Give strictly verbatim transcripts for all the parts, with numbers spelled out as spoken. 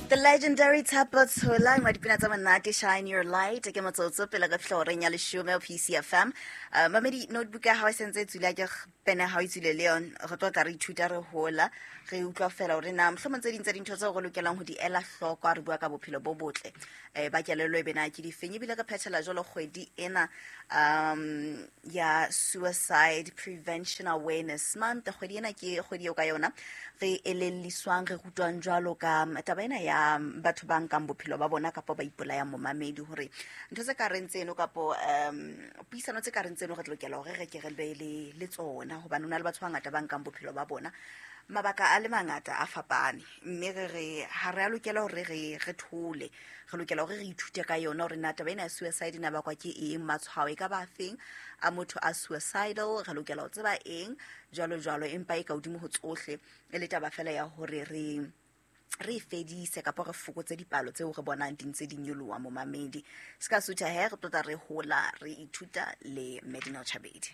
The legendary Thapo Tshola ngwa dipina tsa monate Shine Your Light ke motsotso pele re fihla horeng ya leshome ho P C F M. Uh, mamedi notebook ya hao e sentse e tswile, ke pene ha o tswile le yona, re tlo tla re ithuta re hola, re utlwa fela hore na mohlomong tse ding tsa dintho tseo re lokelang ho di ela hloko ha re bua ka bophelo bo botle eh ba kelello e bena ke difeng. Ebile re phethela jwalo kgwedi ena um ya Suicide Prevention Awareness Month. Kgwedi ena ke kgwedi eo ka yona re elelliswang, re rutwang jwalo ka taba ena ya batho ba nkang bophelo ba bona kapa ba ipolayang momamedi, hore ntho tse ka reng tseno kapo um puisano tse ka reng tseno re lokela hore re ke re be le le tsona, hobane ho na le batho ba bangata ba nkang bophelo ba bona mabaka a le mangata a fapane, mme re re ha re a lokela hore re re thole, re lokela hore re ithute ka yona hore na taba ena ya suicide ena bakwa ke eng, matshwao e ka ba feng a motho a suicidal, re lokela ho tseba eng jwalo jwalo. Empa e ka hodimo ho tsohle e le taba fela ya hore re re fedise kapa re fokotse dipalo tseo re bonang di ntse di nyoloha momamedi. Se ka sutha he, re tlotla re hola re ithuta le Medina Chabedi.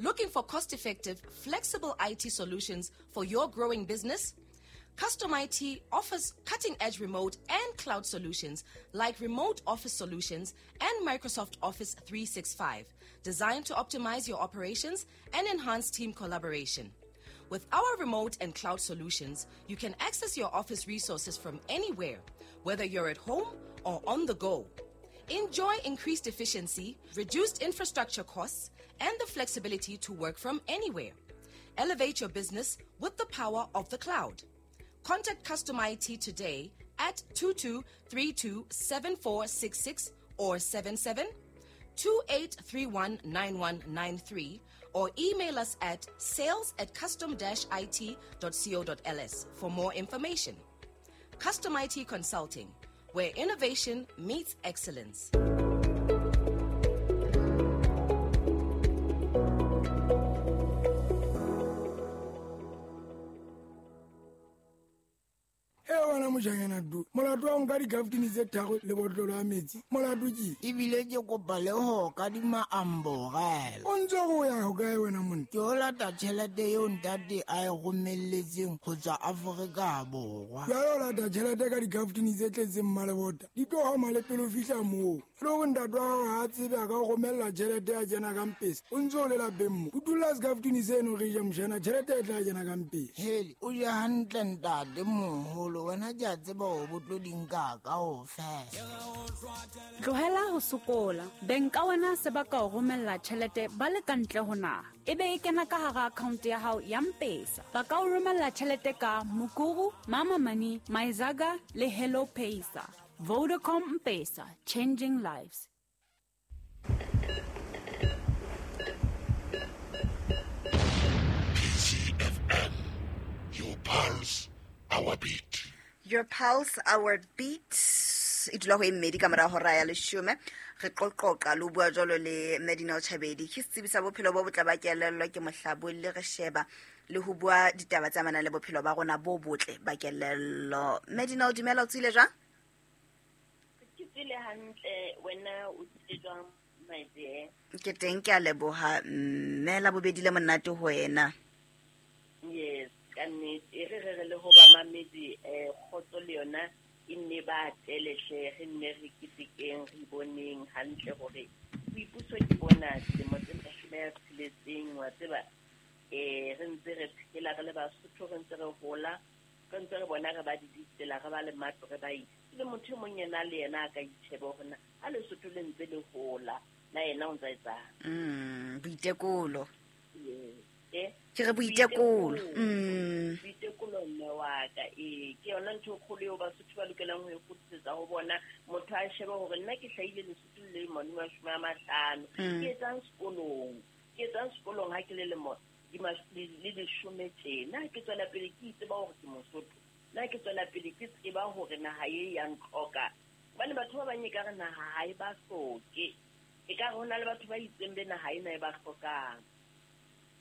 Looking for cost-effective, flexible I T solutions for your growing business? Custom I T offers cutting-edge remote and cloud solutions like remote office solutions and Microsoft Office three sixty-five, designed to optimize your operations and enhance team collaboration. With our remote and cloud solutions, you can access your office resources from anywhere, whether you're at home or on the go. Enjoy increased efficiency, reduced infrastructure costs, and the flexibility to work from anywhere. Elevate your business with the power of the cloud. Contact Custom I T today at two two three two seven four six six or seven seven two eight three one nine one nine three, or email us at sales at custom dash it dot co dot l s for more information. Custom I T Consulting, where innovation meets excellence. Molato wa nka dikaftini tse tharo le botlolo ya metsi, molato ke ebile ke kopa le ho kadima amborela. O ntse go ya ho kae wena monna? Ke o lata tjhelete eo ntate a e romelletseng ho tswa Afrika Borwa. Jwale o lata tjhelete ka dikaftini tse tletseng mmalebota, di tlo hama le pele o fihla moo. Le hore ntate wa hao ha a tsebe a ka o romella tjhelete ya kena ka mpese, o ntse o le lapeng mo. O dula sekaftini seno re ja mshana, tjhelete e tla kena ka mpese. Hele, o ja hantle ntate moholo, wena ke a tseba hore bo tlo di nka kaofela. Tlohela ho sokola. Beng ka wena se ba ka o romella tjhelete ba le ka ntle ho naha, ebe e kena ka hara account ya hao ya M-Pesa. Ba ka o romella tjhelete ka Mukuru, Mama Money, Myzaga le Hello Pesa. Vodacom M-Pesa, changing lives. P C F M, your pulse, our beat. Your pulse, our beat. E dula ho e mmedi ka mora hora ya leshome. Re qoqoqa le ho bua jwalo le Medina Chabedi, ke setsebi sa bophelo bo botle ba kelello, ke mohlabolli, re sheba le ho bua ditaba tse amanang le bophelo ba rona bo botle ba kelello. Medina, o dumela, o tswile jwang? Ke tswile hantle, wena o tswile jwang my dear? Ke teng, ke a leboha mme, la bobedi le monate ho wena. Yes, ka nnete e re re re le ho ba mamedi eh kgotso le yona e nne ba atelehle, re nne re ketekeng, re boneng hantle hore boipuso ke bona dilemo tse mashome a tsheletseng, wa tseba eh re ntse re phela re le Basotho, re ntse re hola, re ntse re bona re ba di ditsela, re ba le matlo, re ba itse le motho e mong yena le yena a ka itjheba hore na ha Lesotho le ntse le hola na yena o ntse a etsang. Mm, boitekolo. Yes. Eh? Ke re boitekolo. Mm. Boitekolo mme wa ka, eh ke yona ntho e kgolo eo Basotho ba lokelang ho e kgutlisetsa ho bona. Motho a shebe hore nna ke hlahile Lesotho le lemo di mashome a mahlano, ke etsang sekolong, ke etsang sekolong ha ke le lemo di le leshome tjena, ke tswela pele ke itseba hore ke Mosotho, nna ke tswela pele ke tseba hore naha e ya ntlhoka. Hobane batho ba bang ekare naha ha e ba hloke, ekare ho na le batho ba itseng be naha ena e ba hlokang.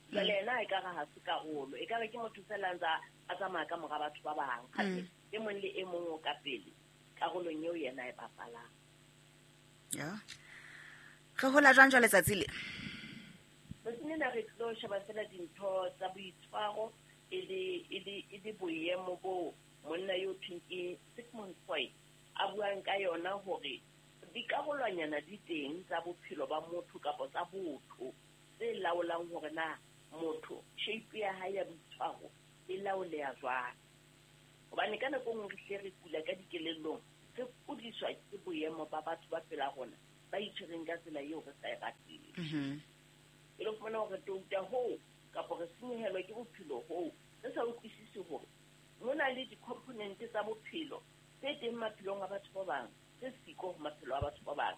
Jwale yena ekare ha se karolo, ekare ke motho fela a ntsa a tsamaya ka mora batho ba bang. Kgathe e mong le e mong o ka pele karolong eo yena e bapalang. Ya. Re hola jwang jwale letsatsi le? Tsatsing lena re tlo sheba fela dintho tsa boitshwaro e le e le boemo bo monna yo thweng ke Sigmund Freud a buang ka yona hore dikarolwanyana di teng tsa bophelo ba motho kapa tsa botho tse laolang hore na motho shape ya hae ya boitshwaro e laoleha jwang. Hobane ka nako nngwe re hle re kula ka dikelellong, re kudiswa ke boemo ba batho ba pela rona ba itshwereng ka tsela eo re sa e rateng. E le fumana hore touta hoo kapa re senyehelwa ke bophelo hoo re sa utlwisise hore mona le di-component tsa bophelo tse teng maphelong a batho ba bang tse siko ho maphelo a batho ba bang,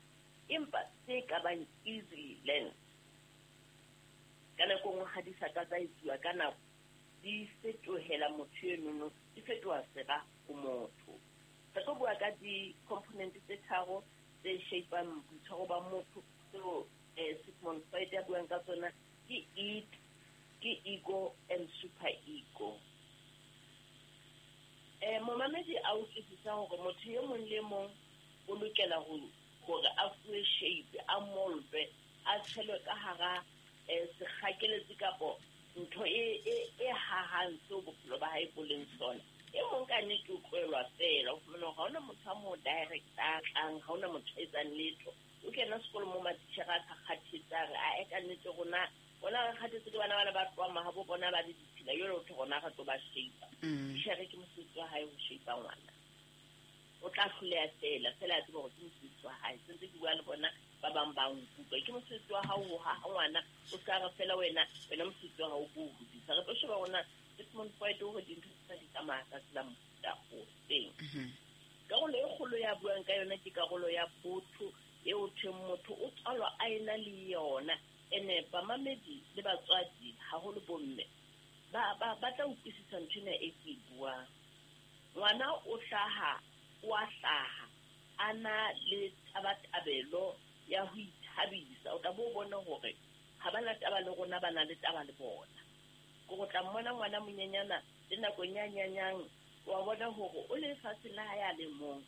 empa tse ka bang easily learned. Ka nako nngwe ha di sa ka tsa etsuwa ka nako, di fetohela motho enono, di fetoha sera ho motho. Re tlo bua ka di-component tse tharo tse shapang boitshwaro ba motho tseo Sigmund Freud a buang ka tsona, ke id, ke ego and super ego. Eh momamedi a utlwisisa hore motho e mong le mong o lokela ho hore a fuwe shape, a moldwe, a tshelwe ka hara sekgakeletsi kapo ntho e e e hahang seo bophelo ba hae bo leng sona. E mong ka nnete o tlohellwa feela, o fumana hore ha hona motho a mo director tlang, ha hona motho a etsang letho. O kena sekolo mo matitjhere a sa kgathetse, a re ae ka nnete rona rona re kgathetse ke bana bana ba tlohang mahabo bona ba le ditshila, jwale ho thwe rona re tlo ba shape. Titjhere ke mosebetsi wa hae ho shape ngwana. O tla hloleha feela, feela a tseba hore ke mosebetsi wa hae. Sentse ke bua le bona ba bang ba nkutlwa, ke mosebetsi wa hao ho haha ngwana, o ska re feela wena wena mosebetsi wa hao ko o hodisa. Re tlo sheba rona Sigmund Freud hore dintho tsena di tsamaya ka tsela mofuta o feng. Karolo e kgolo ya buang ka yona ke karolo ya botho eo thweng motho o tswalwa a ena le yona. Ene bamamedi le batswadi haholo bomme ba ba ba tla utlwisisa ntho ena e ke e buang. Ngwana o hlaha, o a hlaha a na le tabatabelo ya ho ithabisa. O tla bo bona hore ha ba na taba le rona, ba na le taba le bona. Ke go tla mmona ngwana monyenyana le nakong ya nyanyang, wa bona hore o le lefatsheng la hae a le mong.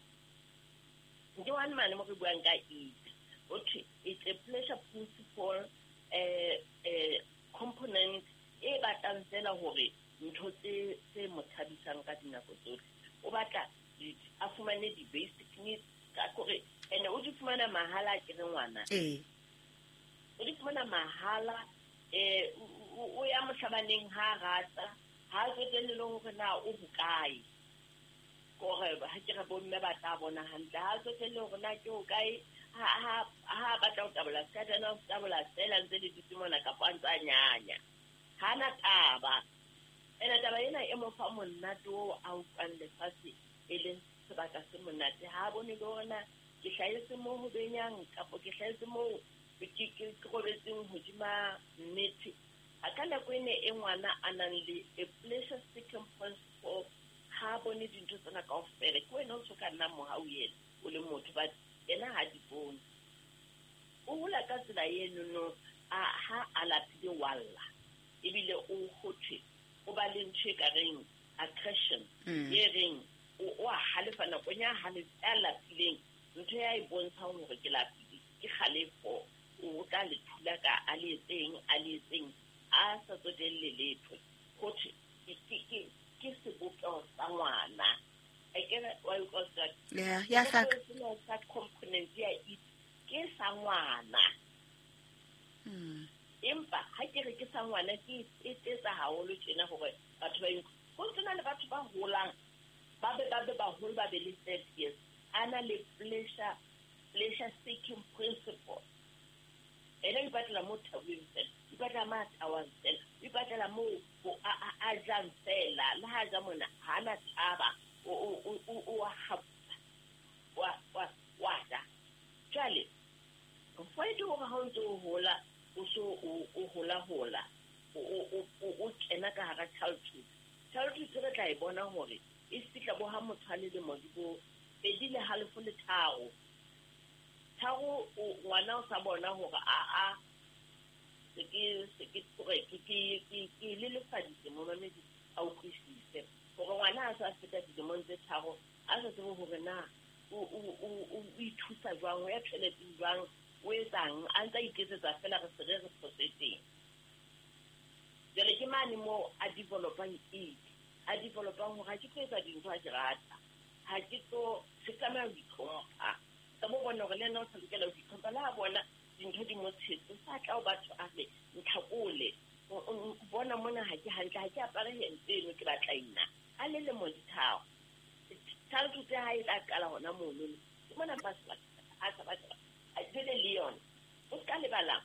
Ke one mane mo re buang ka it. O thwe it's a pleasure principle eh eh component e batlang fela hore ntho tse tse mo thabisang ka dinako tsohle. O batla a fumane di-basic needs ka kore ene o di fumana mahala ke re ngwana. Eh. O di fumana mahala eh o ya mohlabaneng ha rata, ha tsotelle le hore na o bokae. Kore ha ke re bomme ba tla bona hantle, ha tsotelle hore na ke hokae, ha ha ha batla ho tabola skatana, o tabola fela ntse le dutse mona kapa a ntse a nyanya. Ha na taba. Ene taba ena e mo fa monate oo a utlwang lefatshe e leng sebaka se monate. Ha bone le hore na ke hlahetse moo ho benyang kapa ke hlahetse moo ke ke robetseng hodima nnete. A ka nako ene e ngwana a nang le a pleasure seeking principle, ha bone dintho tsena kaofela. Ke wena o so ka nna mohau yena o le motho, but yena ha di bone. O hola ka tsela enono, a ha a lapile wa lla, ebile o hothwe o ba le ntho e ka reng aggression, e reng o a halefa nakong ya a lapileng. Ntho ya e bontshang hore ke lapile ke kgalefo, o tla le thula ka a le etseng a le etseng a sa tsotelle letho. Hothwe ke ke sebopeho sa ngwana. Akere wa utlwa Ya, ya hlaka. Sa component ya it ke sa ngwana. Mm. Empa ha ke re ke sa ngwana ke e tetsa haholo tjena hore batho ba e ho tsena le batho ba holang ba be ba be baholo ba be le thirty years a na le pleasure pleasure seeking principle. Ene o ipatlela mo thabeng fela, o ipatlela mo a tawang fela, o ipatlela mo a jang fela, le ha ja mona ha na taba, o o o o wa wa wa ja. Jwale Freud hore ha o ntse o hola, o so o hola hola, o o o kena ka hara childhood. Childhood re tla e bona hore e fihla bo ha motho a le lemo di bo pedi le halofo le tharo. Tharo ngwana o sa bona hore a a se ke se ke ke ke ke le lefaditse momamedi a utlwisise hore ngwana a sa feta dilemong tse tharo a sa tsebe hore na o o o ithusa jwang, o ya toileteng jwang, o etsang, a ntse a iketsetsa fela re se re re phosetseng. Jwale ke mane moo a developang it. A developang hore ha ke tlo etsa dintho ha ke rata, ha ke tlo se tlameha ho itlhompha. Ka mo bona hore le yena o sa lokela ho itlhompha, le ha bona dintho di mo tshetse, sa tla ho batho a re ntlhakole, bona mona ha ke hantle, ha ke apare hempe eno ke batla ena. A le lemo di tharo, childhood ya hae e tla qala hona mono. Ke mona ba a sa batla jwale le yona o ska lebala.